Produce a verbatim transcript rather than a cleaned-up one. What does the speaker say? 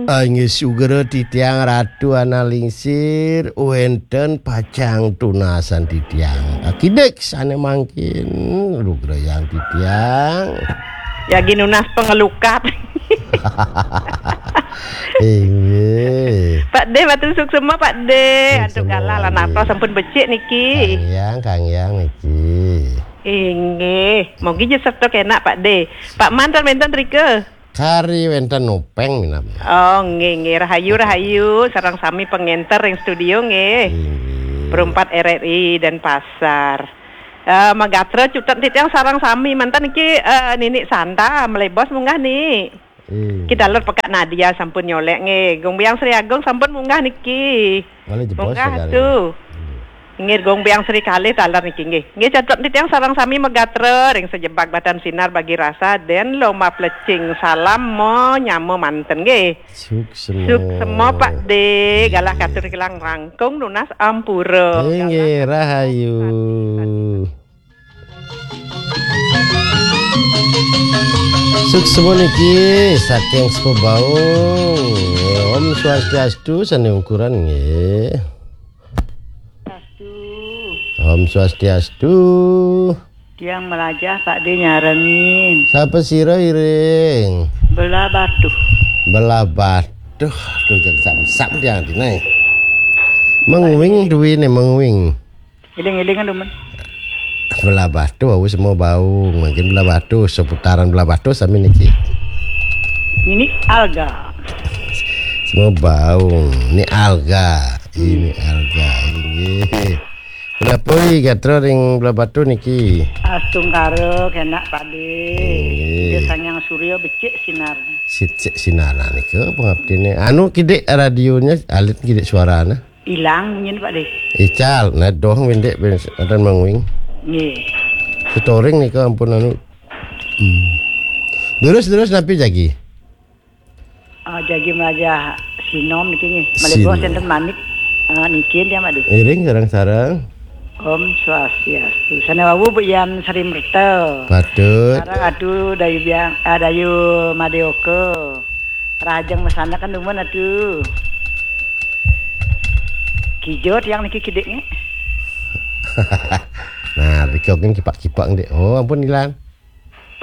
Inggih sugra titiang Ratu Analingsir, wénten pacang tunasan titiang. Akidik sané mangkin lugrayang titiang. Yagi nunas pangelukat. Inggih. Pak De, matur suksema, Pak De. Antuk galah lan artos sampun becik niki. Kang Yang, Kang Yang niki. Inggih, mogi ja sarta kenak, Pak De. Pak Man ten wénten rika? Kari wénten nopeng minab. Oh, nggih, nggih, rahayu, rahayu, sareng sami pangénter ring studio nggih. Inggih. Perempat R R I Denpasar. Eh, magatra cutet titiang sareng sami manten niki, eh, Nini Santa, malebos munggah ni. Inggih. Ki taler Pekak Nadia sampun nyolék nggih. Gung Biang Sri Agung sampun munggah niki. Malih jebos munggah negara. Atuh. Inggih. Inggih, Gung Biang Sri kalih taler niki nggih. Nggih, cutet titiang sareng sami magatra ring sajebag batan sinar bagi rasa den lomba plecing salam mo nyama manten nggih. Suksema. Suksema, Pak De. Inggih. Galah katur kilang rangkung nunas ampura. Inggih, galah rahayu. Suksema niki saking Sepabaung. Om Swastiastu, sané ungkuran nggih. Astu. Om Swastiastu. Tiang melajah Pak De nyarengin. Sapa sira iring? Belah Batuh. Belah Batuh. Aduh, jang sam-sam tiang dinaé. Menguing duwéné menguing. Iling-ilingan dumun. Belah Batuh wau Sepabaung. Mangkin Belah Batuh, seputaran Belah Batuh sami niki. Ini Alga. Sepabaung. Ini Alga. Ini Alga. Inggih. Punapa gatra ring Belah Batuh niki? Astungkara kenak Pak De. Inggih. Ida Sang Hyang Surya becik sinar. Sicik sinar nika pangaptine. Anu kidik radionya alit kidik suarane. Ilang munyin Pak De. Ical, nah doh windik ben enten menguing. Nggih. Setoring nika ampun anu. Hmm. Terus terus napi jagi? Ah, jagi melajah sinom niki nggih. Malih bos enten manik. Ah, niki dia Pak De. Iring sareng-sareng. Om Swastiastu. Sane wau Bu Yan Sri Merta. Patut. Sareng Adu Dayu Biang, ah, Dayu Madeoka. Rahajeng masanekan dumun Adu. Kijo tiang niki kidik nggih. Nah, rika kan kipak-kipak ndik. Oh, ampun ilang.